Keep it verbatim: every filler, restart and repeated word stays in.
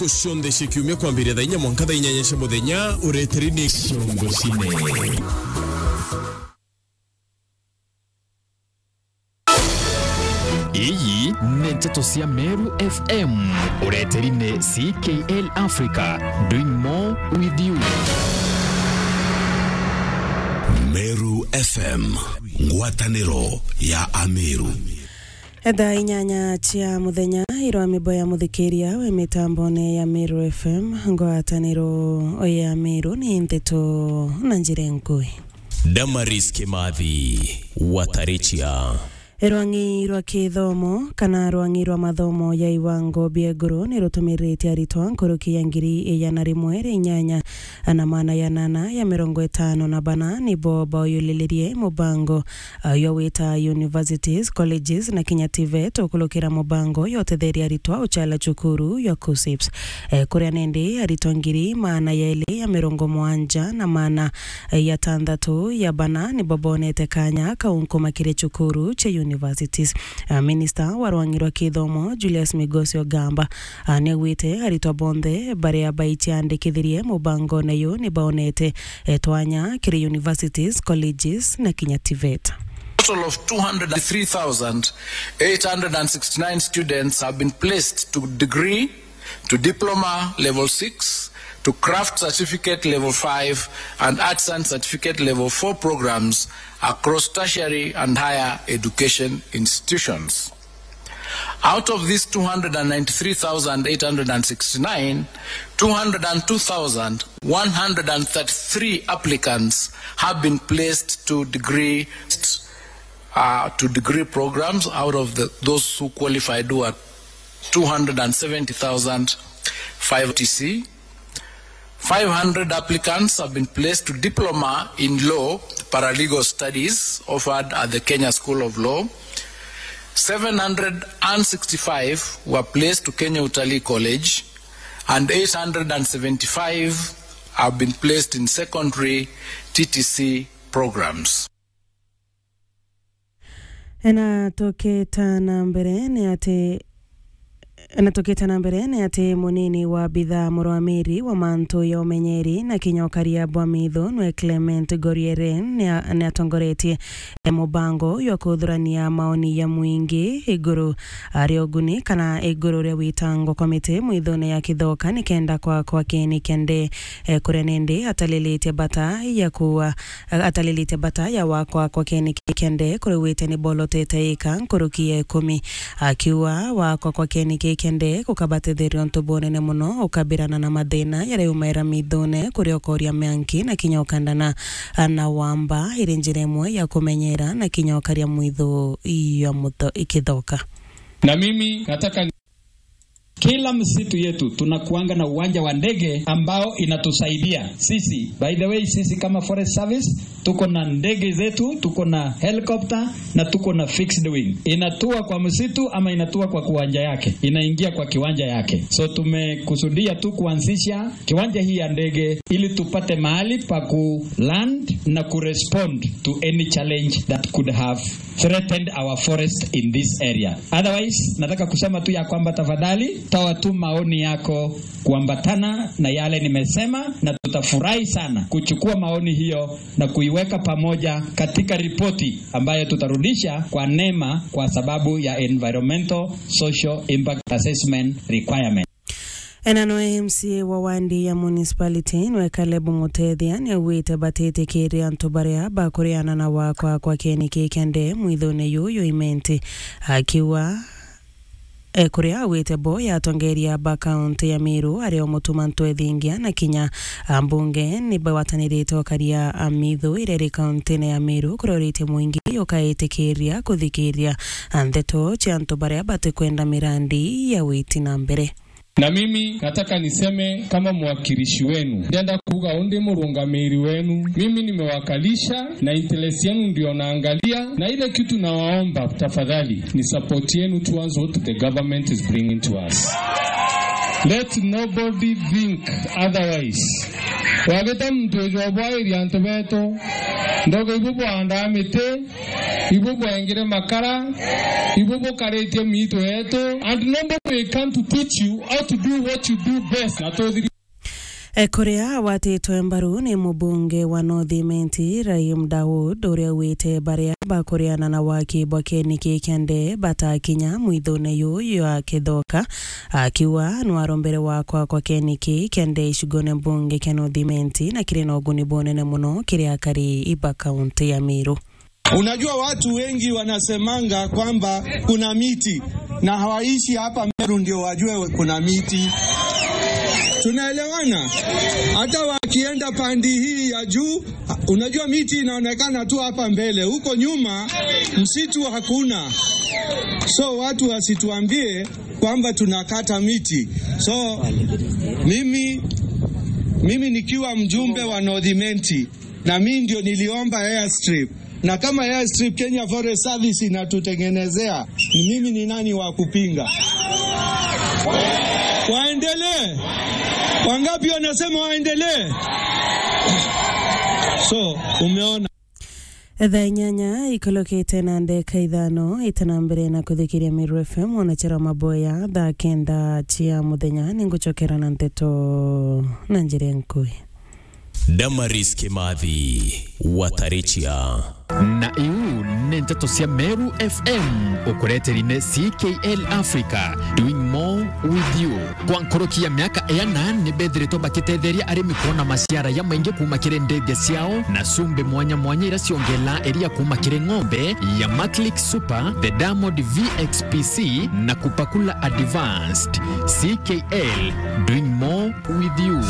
Cionthe cia kiumia kwambiria thaa inya mwanka thaa inyanya cia muthenya, ureteri ni Ciongo Cine. Iyi ni nteto cia Meru F M. Ureteri ni C K L Africa, doing more with you. Meru F M, ngwataniro ya Ameru. Thaa inyanya cia muthenya, irwa mibo ya muthikiria we mitambone ya Meru F M, ngwataniro ya Meru ni nteto na njira nkui. Damaris Kimathi, Watarichia. Rwang'i rwa kithomo kana rwang'i rwa mathomo ya iwango bia iguru ni rutumiritie aritwa nkuruki ya ngiri igana rimwe ria inyanya na maana ya nana ya mirongo itano na bana nibo bauyulilirie mubango, ah, yo wita universities, colleges na kinya TVET ukulukira mubango yo utetheria aritwa uchala cukuru ya KUSSIPS. Eh, kuria nindi aritwa ngiri maana ya ili ya mirongo mwanja na maana ya tantatu ya bana nibo bonete kanya kau nkumakire cukuru cia universities. Ah, Minister wa rwang'i rwa kithomo, Julius Migosi Ogamba, ah, niaugite aritwa bonthe baria baiciandikithirie mubangone yu nibaonete, eh, twanya kiri universities, colleges na kinya TVET. Total of two hundred and three thousand eight hundred and sixty-nine students have been placed to degree to diploma level six, to craft certificate level five, and artisan certificate level four programs across tertiary and higher education institutions. Out of these two hundred and ninety-three thousand eight hundred and sixty-nine, two hundred and two thousand one hundred and thirty-three applicants have been placed to degree uh, to degree programs out of the, those who qualified, who are two hundred and seventy thousand five T C. Five hundred applicants have been placed to diploma in law, paralegal studies offered at the Kenya School of Law. Seven hundred and sixty-five were placed to Kenya Utalii College, and eight hundred and seventy-five have been placed in secondary T T C programs. Na tukita na mbere ni ati, na tukita na mbere ni ati munini wa bithaa murwamiri wa mantu ya umenyeri na kinya ukaria bwa mitho nwe Clement Gorieren ni a-, ni atongoretie, e, mubango jwa kuthurania maoni ya mwingi iguru ria uguni kana iguru ria witango kwa miti mwithone ya Kithoka nikenda kwa, kwa kini kende, e, kuria nindi atalilitie bata ya kuwa atalilite bata ya wakwa kwa keni kikende kuriwite ni bolotete ika nkuruki ya ikumi, akiuga wakwa kwa keni kikende gukabatetheria untu bunene muno ukabirana na mathina yaria yumaira mithune kuri okoria mianki na kinya ukandana na wamba iri njira imwe ya kumenyera na kinya ukaria mwithu ya mutho ikithoka. Na mimi nataka Kila msitu yetu tunakuanga na uwanja wa ndege ambao inatusaidia sisi. By the way, sisi kama Forest Service, tuko na ndege zetu, tuko na helicopter na tuko na fixed wing. Inatua kwa msitu ama inatua kwa kiwanja yake, inaingia kwa kiwanja yake. So tumekusudia tu kuanzisha kiwanja hii ya ndege ili tupate mahali pa ku land na ku respond to any challenge that could have threatened our forest in this area. Otherwise, nataka kusema tu ya kwamba tafadhali toa tu maoni yako kuambatana na yale nimesema, na tutafurahi sana kuchukua maoni hiyo na kuiweka pamoja katika ripoti ambayo tutarudisha kwa nema kwa sababu ya environmental social impact assessment requirement. Ena nwe M C A wa wandi ya municipality nwe Caleb Mutethia niaugite batitikiria antu baria bakuriana na wakwa kwa kieni kikende mwithone yuyu imenti, akiuga, e, kuria augite bo ya atongeria ba kaunti ya Meru aria o mutuma ntwethingia na kinya, a, mbunge ni bagwatanirite ukaria, a, mithu iria iri kauntine ya Meru kuria uritie mwingi ukaitikiria kuthikiria, a, ndeto cia antu baria batikwenda mirandi ya witi na mbere. Na mimi nataka niseme kama mwakilishi wenu, ndienda kuuga undi murungamiri wenu. Mimi nimewakalisha na interest yenu ndio naangalia, na ile kitu nawaomba tafadhali ni support yenu towards what the government is bringing to us. Let nobody think otherwise. Wagita muntu ujobwairia antu betu, ndogo ibu bwandaa miti, Ibu bwengire makara, ibu bukaritie miito yetu, and nobody will come to teach you how to do what you do best, na tuthiri. E, kuria watitwe mbaru ni mubunge wa North Imenti, Rahim Dawood, uria augite baria bakuriana na waki bwa keniki kia ndee batakinya mwithone yuyu ya Kithoka, akiuga nwarombere wakwa kwa keniki kia ndee icigone mbunge kia North Imenti na kiri na uguni bunene muno kiri akari iba kaunti ya Meru. Unajua, watu wengi wanasemanga kwamba kuna miti na hawaishi hapa Meru ndio wajue kuna miti. Tunaelewana? Hata wakienda pande hii ya juu, unajua, miti inaonekana tu hapa mbele, huko nyuma msitu hakuna. So watu wasituambie kwamba tunakata miti. So mimi, mimi nikiwa mjumbe wa North Imenti, na mimi ndio niliomba airstrip. Na kama airstrip Kenya Forest Service inatutengenezea, ni mimi ni nani wa kupinga? Waendelee. Wangapi wanasema waendelee? So, umeona. Thaa inyanya ikolokete na ndeka ithano, ita na mbere na kuthikiria Meru F M, ona chera maboya thaa kenda cia muthenya, ninguchokera na nteto na njira nkui. Damaris Kimathi, Watarichia. Na iu ni nteto cia Meru F M, ukureteri ni C K L Africa, doing more with you. Kwa nkoroki ya miaka iana, ni bethiritwe bakitetheria arimi kuona maciara ya maingi kuuma kiri ndethia ciao, na cumbi mwanya mwanya iria ciongelaa iria kuuma kiri ng'ombe ya Maclick Super, the Diamond V X P C, na Kupakula Advanced. C K L, doing more with you.